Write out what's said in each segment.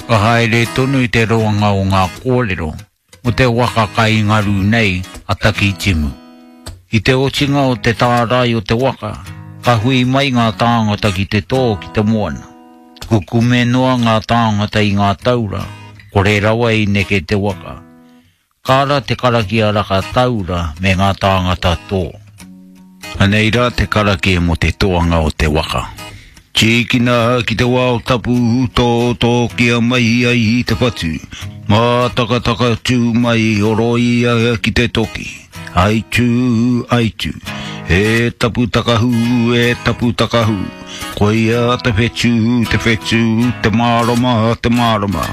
Ka haere tonu te roanga o ngā kōrero mō te waka kai ngaru nei a Takitimu. I te otinga o te tārai o te waka, ka hui mai ngā tāngata ki te tō ki te moana. Kukume noa ngā tāngata i ngā taura, kore rawa i neke te waka. Ka ara te karakia raka taura me ngā tāngata tō. Anei rā te karakia mō te toanga o te waka. Tīkina ki te wao tapu, tōtōkia mai ai i te whatu. Mātakataka tū mai, horoia ki te toki. Aitū, aitū. E tapu takahu, e tapu takahu. Koia te whetū, te whetū, te mārama, te mārama.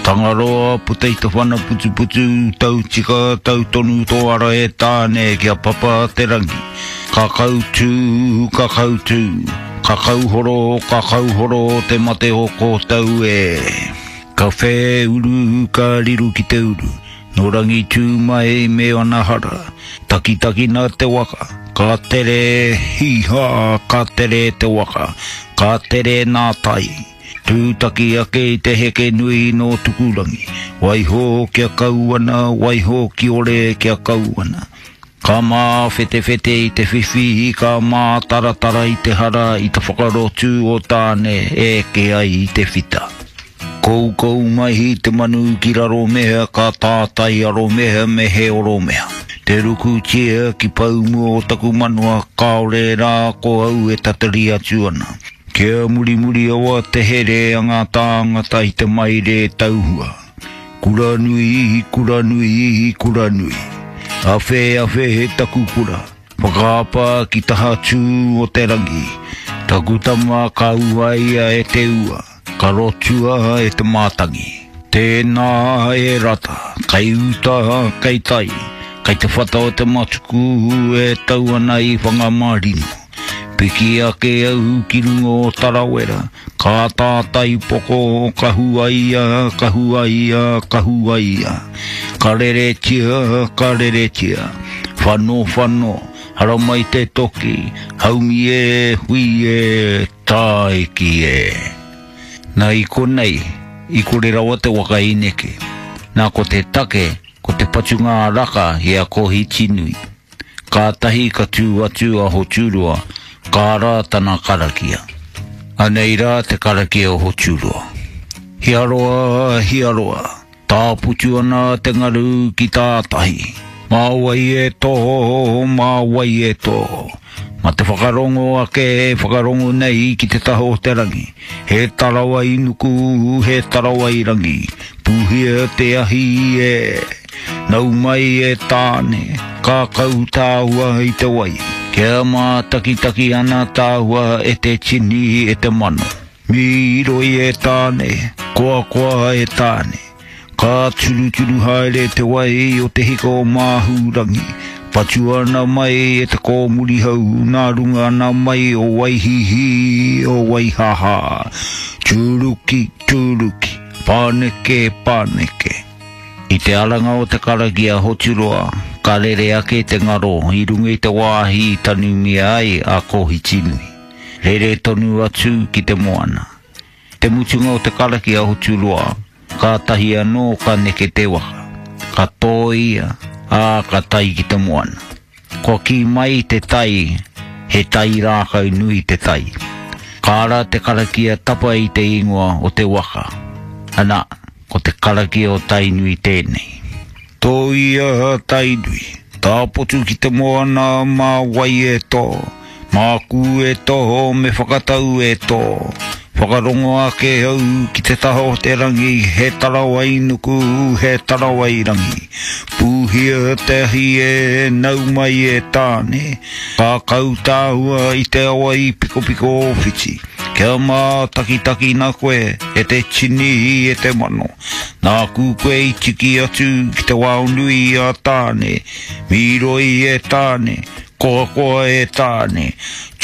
Tangaroa puta i te whana putuputu, tau tika, tau tonu tō ara e Tāne kia papa te rangi. Ka kautū, ka kautū, ka kauhoro, ka kauhoro te mate o kōtau e. Ka whēuru, ka riru ki te uru, nō Rangitū mai me ana hara, takitakina te waka, ka tere, hī-hā, ka tere te waka, ka tere nā tai. Tūtaki ake i te heke nui nō Tukurangi, waiho kia kau ana, waiho kiore kia kau ana. Ka māwhetewhete i te whiwhi, ka mātaratara i te hara, i te whakarotu o Tāne e eke ai i te whita. Koukou mai te manu ki raro mea, ka tātai aro mea me he oro mea. Te rukutia ki paumua o taku manawa, kāore rā ko au e tatari atu ana. Kia murimuri awa te here a ngā tāngata i te maire tauhua. Kura nui, kura nui, kura nui. Awhe, awhe he taku kura. Whakaapa ki taha tū o te rangi. Taku tama ka uaia e te ua, ka rotua e te mātangi. Tēnā e rata, kei uta, kei tai, kei te whata o te matuku e tau ana i Whangamarino. Piki ake au ki runga o Tarawera, ka tātai poko, ka huaia, ka huaia, ka huaia. Ka reretia, ka reretia. Whano, whano, haramai te toki, haumi e, hui e, tāiki e. Nā i konei, i kore rawa te waka i neke. Nā ko te take, ko te patunga a Raka i a Kohitinui. Kātahi ka tū atu a Hoturoa, ka ara tana karakia. Anei rā te karakia o Hoturoa. Hiaroa, hiaroa, tāputu ana te ngaru ki tātahi. Mā wai e tō, mā wai e tō. Mā te whakarongo ake e whakarongo nei ki te taha o te rangi. He tarawai nuku, he tarawai rangi. Pūhia te ahi e. Nau mai e Tāne, ka kau tāua i te wai. Kia mātakitaki ana tāua e te tini, e te mano. Mīroi e Tāne, koakoa e Tāne. Ka turuturu haere te wai o te hika o Māhūrangi. Patua ana mai e te kōmurihau nā runga ana mai o Waihīhī, o Waihāhā. Tūruki, tūruki, pāneke, pāneke. I te aranga o te karakia Hoturoa, ka rere ake te ngaro i runga i te wāhi i tanumia ai a Kohitinui. Rere tonu atu ki te moana. Te mutunga o te karakia Hoturoa, kātahi anō ka neke te waka. Ka tōia, ā, ka tae ki te moana. Kua kī mai te tai, he tai rākau nui te tai. Ka ara te karakia tapa i te ingoa o te waka. Ana, ko te karakia o Tainui tēnei. Tōia Tainui, tāpotu ki te moana mā wai e tō, māku e tō me whakatau e tō. Whakarongo ake au ki te taha o te rangi, he tarawai nuku, he tarawai rangi. Pūhia te ahi e, nau mai e Tāne, ka kau tāua i te awa i Pikopiko-o-Whiti. Kia mātakitakina koe e te tini, e te mano. Nāku koe i tiki atu ki te wao nui a Tāne, mīroi e Tāne, koakoa e Tāne.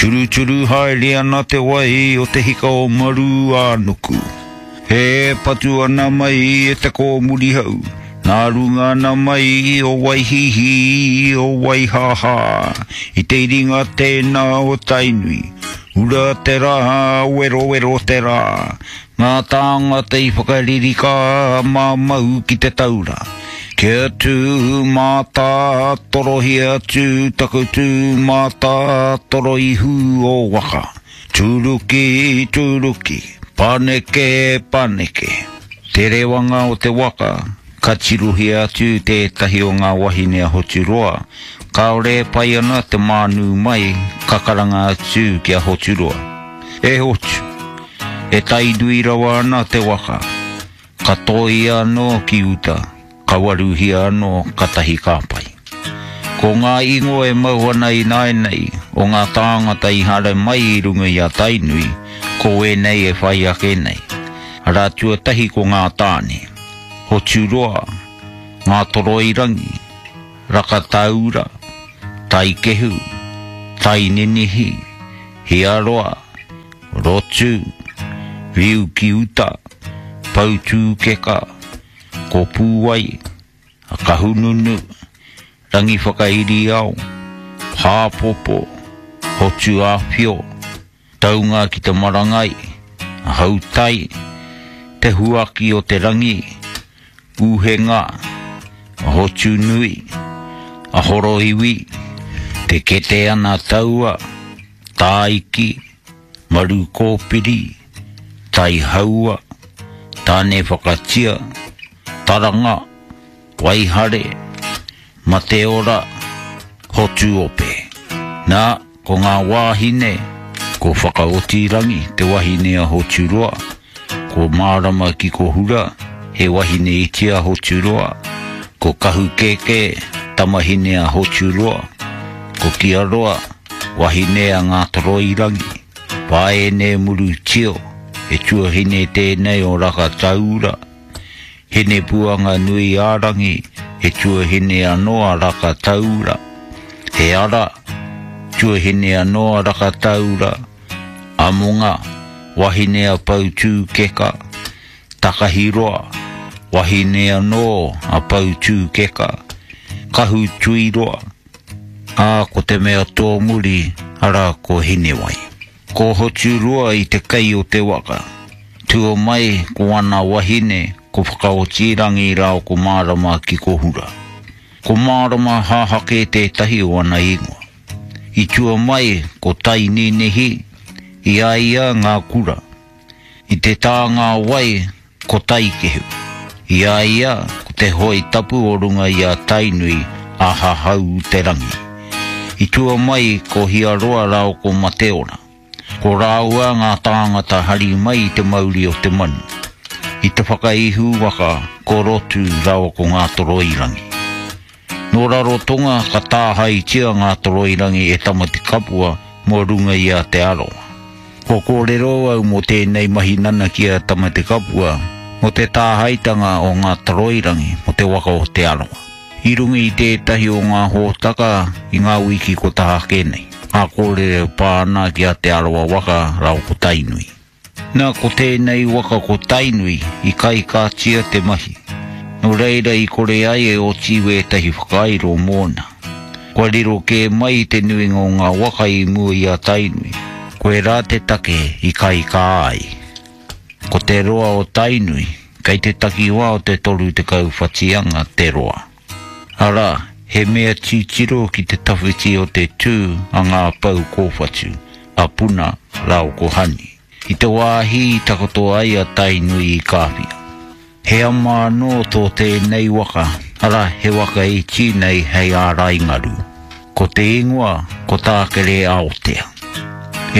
Turuturu haere ana te wai o te hika o Maru-ā-nuku. E patu ana mai e te kōmurihau, nā runga ana mai o Waihīhī, o Waihāhā, i te iringa tēnā o Tainui. Ura te rā, werowero te rā. Ngā tāngata i whakaririka māmau ki te taura. Kia tū mātātorohia atu taku tū mātātoro ihu o waka. Tūruki, tūruki, paneke, paneke. Te rewanga o te waka, ka tirohia atu tētahi o ngā wahine a Hoturoa, kāore e pai ana te mānū mai, ka karanga atu ki a Hoturoa. E Hotu! E tainui rawa ana te waka, ka tōia anō ki uta, ka waruhia anō katahi ka pai. Ko ngā ingoa e mau ana ināianei o ngā tāngata i haere mai i runga i a Tainui, ko ēnei e whai ake nei. Arā tuatahi ko ngā tāne, Hoturoa, Ngātoroirangi, Rakatāura, Taikehu, Taininihi, Hiaroa, Rotu, Riu ki uta, Poutūkeka, Kopūwai, Kahununu, Rangiwhakairiao, Hāpopo, Hotuāwhio, Taunga ki te marangai, Hautai, Te Huaki o te Rangi, Uhenga, Hotunui, Ahoroiwi, Te Kete ana Taua, Tāiki, Marukōpiri, Taihaua, Tānewhakatia, Taranga, Waihare, Mateora, Hotuope. Nā, ko ngā wāhine, ko Whakaotirangi, te wahine a Hoturoa, ko Mārama ki Kohura, he wahine iti a Hoturoa, ko Kahukēkē, tamahine a Hoturoa, ko Kiaroa, wahine a Ngātoroirangi, Paene Murutio, he tuahine tēnei o Rakataura, Hinepuanganui-ā-rangi, he tuahine anō a Rakataura, He Ara, tuahine anō a Rakataura, Amonga, wahine a Poutūkeka, Takahiroa, wahine anō a Poutūkeka, Kahutuiroa, ā, ko te mea tōmuri, arā, ko Hinewai. Ko Hoturoa i te kei o te waka. Tua mai ko ana wahine, ko Whakaotirangi rāo ko Mārama ki Kohura. Ko Mārama Hahake tētahi o ana ingoa. I tua mai ko Taininihi, i a ia ngā kura. I te tānga wai ko Taikehu. I a ia ko te hoe tapu o runga i a Tainui a Hahau te rangi. I tua mai ko Hiaroa rāo ko Mateora. Ko rāua ngā tāngata hari mai i te mauri o te manu. I te whakaihu waka ko Rotu rāua ko Ngātoroirangi. Nō Rarotonga ka tāhaetia Ngātoroirangi e Tamatekapua mō runga i a Te Arawa. Kua kōrero au mō tēnei mahi nanakia a Tamatekapua mō te tāhaetanga o Ngātoroirangi mō te waka o Te Arawa. I runga i tētahi o ngā hōtaka i ngā wiki kua taha ake nei, ngā kōrero e pā ana ki a Te Arawa waka rāua ko Tainui. Na, ko tēnei waka ko Tainui i kaikātia te mahi, nō reira i kore ai e oti wētahi whakairo mōna. Kua riro kē mai te nuinga o ngā waka i mua i a Tainui, koirā te take i kaikā ai. Ko te roa o Tainui, kei te takiwā o te 30 whatianga te roa. Arā, he mea titiro ki te tawhiti o te tū a ngā pou kōwhatu, a Puna rāua ko Hani, i te wāhi i takoto ai a Tainui i Kāwhia. He ama anō tō tēnei waka, arā, he waka iti nei hei ārai ngaru. Ko te ingoa, ko Tākere Aotea.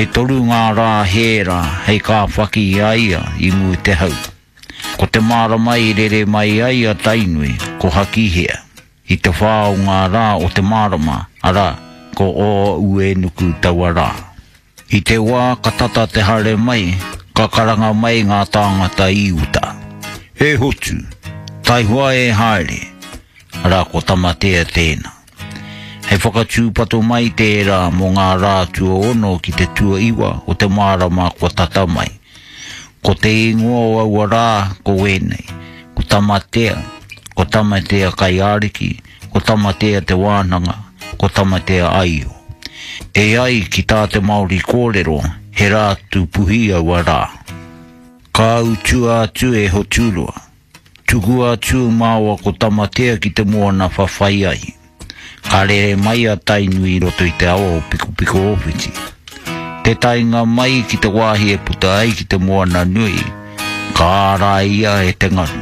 E toru ngā rā hēra hei kāwhaki i a ia i mua i te hau. Ko te marama i rere mai ai a Tainui, ko Hakihea, i te whā o ngā rā o te marama, arā, ko Ō-Uenuku taua rā. I te wā ka tata te haere mai, ka karanga mai ngā tāngata i uta. E hotu! Taihoa e haere! Arā, ko Tamatea tēnā. Hei whakatūpato mai tērā mō ngā rā tuaono ki te tuaiwa o te marama kua tata mai. Ko te ingoa o aua rā ko wēnei, ko Tamatea, ko Tamatea Kaiāriki, ko Tamatea Te Wānanga, ko Tamatea Aio. E ai ki tā te Māori kōrero, he rā tūpuhi aua rā. Ka utua atu e Hoturoa. Tukua atu māua ko Tamatea ki te moana whawhai ai. Ka rere mai a Tainui i roto i te awa o Pikopiko-o-whiti. Te taenga mai ki te wāhi e puta ai ki te moana nui, ka āraia e te ngaru.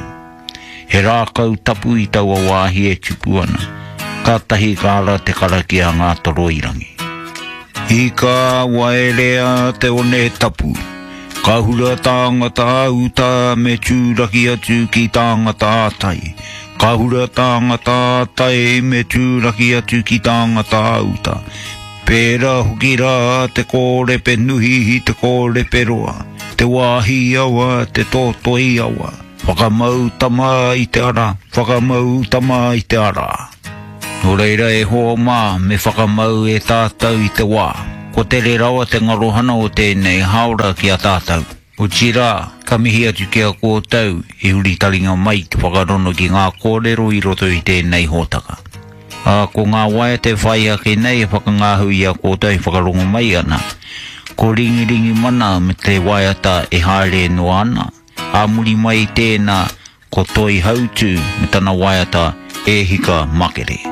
He rākau tapu i taua wāhi e tupu ana, kātahi ka ara te karakia a Ngātoroirangi. Ika waerea te one tapu, ka hura tāngata ā-uta me tūraki atu ki tāngata ā-tai, ka hura tāngata ā-tai me tūraki atu ki tāngata ā-uta. Pērā hoki rā te kōrepe nuhi i te kōrepe roa, te wāhi awa, te tōtoi awa. Whakamau tama i te ara, whakamau tama i te ara. Nō reira e hoa mā, me whakamau e tātou i te wā. Kua tere rawa te ngarohana o tēnei hāora ki a tātou. Otirā, ka mihi atu ki a koutou i huri taringa mai te whakarono ki ngā kōrero i roto i tēnei hōtaka. Ā, ko ngā waiata e whai ake nei e whakangāhau i a koutou e whakarongo mai ana, ko Ringiringi Mana me te waiata e haere noa ana, Ā muri mai i tēnā, ko Toi Hautū me tana waiata E Hika Makere.